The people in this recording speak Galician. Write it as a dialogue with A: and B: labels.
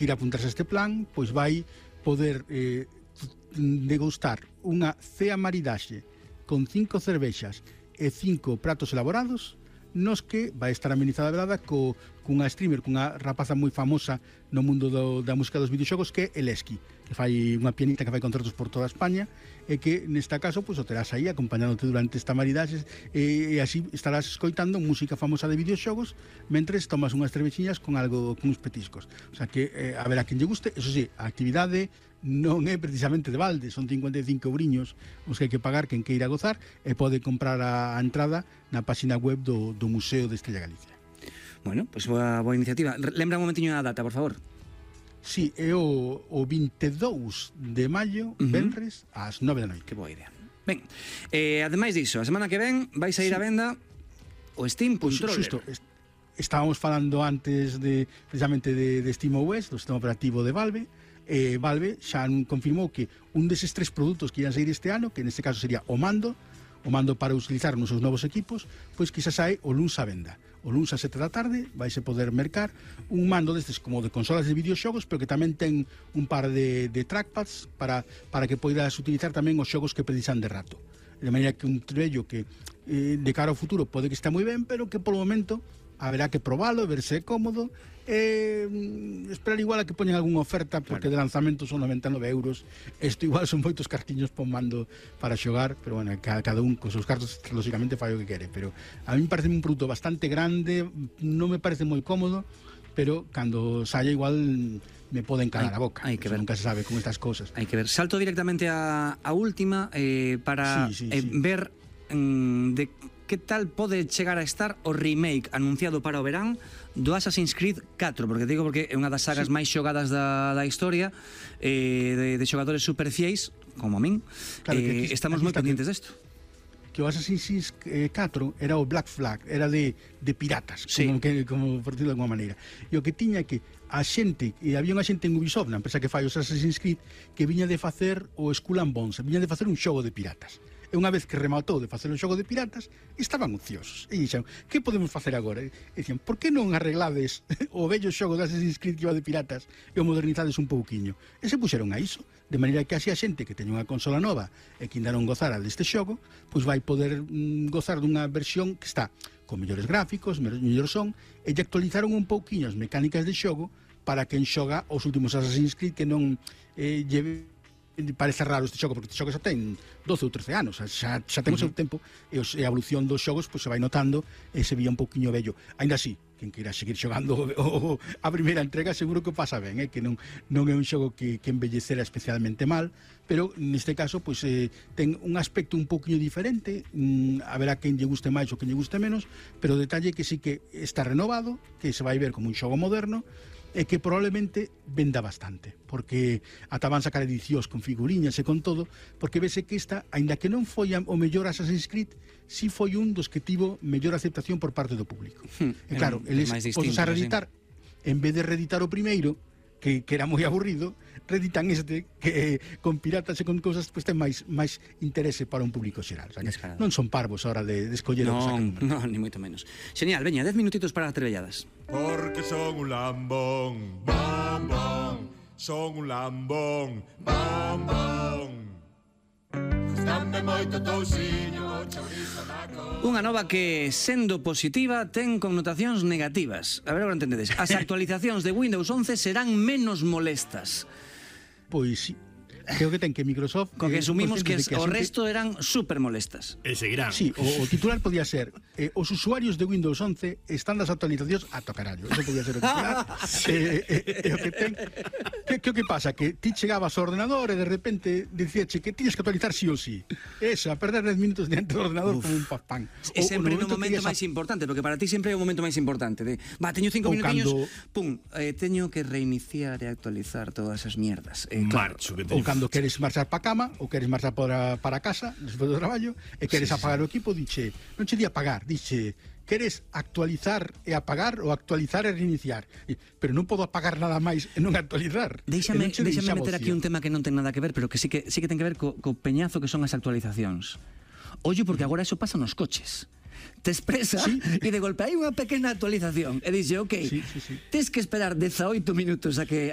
A: ir a apuntarse a este plan, pois vai poder degustar unha cea maridaxe con 5 cervexas e 5 pratos elaborados, nos que vai estar amenizada a velada cunha streamer, cunha rapaza moi famosa no mundo da música dos videoxogos, que é Eleski, que fai unha pianista que fai concertos por toda España, e que nesta caso pois o terás aí acompañándote durante esta maridaxe, e así estarás escoitando música famosa de videoxogos mentres tomas unhas cervexiñas con uns petiscos. O sea que a ver a quen lle guste. Eso sí, a actividade non é precisamente de balde, son 55 euriños os que hai que pagar quen queira gozar, e pode comprar a entrada na página web do Museo de Estrella Galicia.
B: Bueno, pois boa iniciativa. Lembra un momentiño a data, por favor.
A: Sí, é o 22 de maio, venres, ás 9 da noite.
B: Que boa idea. Ben, ademais diso, a semana que ven vais a ir a venda o Steam Controller.
A: Xusto, estábamos falando antes precisamente de SteamOS, do sistema operativo de Valve. Valve xa confirmou que un deses 3 produtos que ian sair este ano, que neste caso sería o mando para utilizar nos seus novos equipos, pois que xa sae o luns a venda. O luns a 7 da tarde vaise poder mercar un mando destes como de consolas de videoxogos, pero que tamén ten un par de trackpads para que poidas utilizar tamén os xogos que precisan de rato. De maneira que un trebello que de cara ao futuro pode que está moi ben, pero que polo momento haberá que probalo, ver se é cómodo, esperar igual a que poñen algunha oferta, porque de lanzamento son 99 euros. Isto igual son moitos cartiños por mando para xogar, pero bueno, cada un con seus cartos lógicamente fai o que quere, pero a mí me parece un produto bastante grande, non me parece moi cómodo, pero cando saia igual me poden calar a boca. Hai que ver. Nunca se sabe con estas cosas.
B: Hai que ver. Salto directamente a última para ver de que tal pode chegar a estar o remake anunciado para o verán do Assassin's Creed 4, porque é unha das sagas máis xogadas da historia, de xogadores super fiéis, como a min. Claro, estamos moi pendientes desto.
A: Que o Assassin's 4 era o Black Flag, era de piratas, como por decirlo de alguma maneira. E o que tiña que a xente, e había unha xente en Ubisoft, na empresa que fai os Assassin's Creed, que viña de facer o Skull and Bones, viña de facer un xogo de piratas. E unha vez que rematou de facer un xogo de piratas, estaban ociosos. E dixeron, que podemos facer agora? E dicían, por que non arreglades o vello xogo de Assassin's Creed que iba de piratas e o modernizades un pouquiño? E se puxeron a iso, de maneira que así a xente que teña unha consola nova e que ainda non gozara deste xogo, pois vai poder gozar dunha versión que está con mellores gráficos, mellor son, e lle actualizaron un pouquiño as mecánicas de xogo para quen xoga os últimos Assassin's Creed, que non parece raro este xogo, porque este xogo xa ten 12 ou 13 anos, xa ten o seu tempo, e a evolución dos xogos pois se vai notando e se vía un pouquiño vello. Ainda así, quen queira seguir xogando a primeira entrega seguro que pasa ben, que non é un xogo que embellecera especialmente mal, pero neste caso pois ten un aspecto un pouquiño diferente, haberá quen lle guste máis ou quen lle guste menos, pero o detalle que sí que está renovado, que se vai ver como un xogo moderno, e que probablemente venda bastante, porque ata van sacar edicións con figuriñas e con todo, porque vese que esta, aínda que non foi o mellor Assassin's Creed, si foi un dos que tivo mellor aceptación por parte do público. E claro, eles podes a reeditar, en vez de reeditar o primeiro, que era moi aburrido, reeditan este que con piratas e con cousas pois ten máis interese para un público xeral. O sea, non son parvos a hora de escoller o que sacan.
B: Non, ni moito menos. Genial, veña, 10 minutitos para as trebelladas.
C: Porque son un lambón, bom, bom. Son un lambón, bom, bom. Gustame moito tousiño, chourizo na cor.
B: Unha nova que, sendo positiva, ten connotacións negativas. A ver, agora entendedes. As actualizacións de Windows 11 serán menos molestas.
A: Pois sí. Creo que ten que Microsoft...
B: Co que asumimos que o resto eran super molestas.
C: E seguirán.
A: Sí, o titular podía ser os usuarios de Windows 11 están das actualizacións a tocarallo. Eso podía ser o titular. O que ten... Que o que pasa? Que ti chegabas ao ordenador e de repente dicíache que tiñes que actualizar sí ou sí. Esa, perder 10 minutos diante do ordenador como un pan.
B: É sempre no momento máis importante, porque para ti sempre é o momento máis importante. Teño 5 minutiños, pum, teño que reiniciar e actualizar todas as mierdas.
C: Marcho que
A: ou cando queres marchar para a cama ou queres marchar para casa despois do traballo e queres apagar o equipo, dixe, non che di apagar, dixe, queres actualizar e apagar ou actualizar e reiniciar, pero non podo apagar nada máis e non actualizar.
B: Déixame meter aquí un tema que non ten nada que ver, pero que sí que ten que ver co peñazo que son as actualizacións. Ollo, porque agora eso pasa nos coches. te expresa e de golpe hai unha pequena actualización e dixe, ok, tens que esperar 18 minutos a que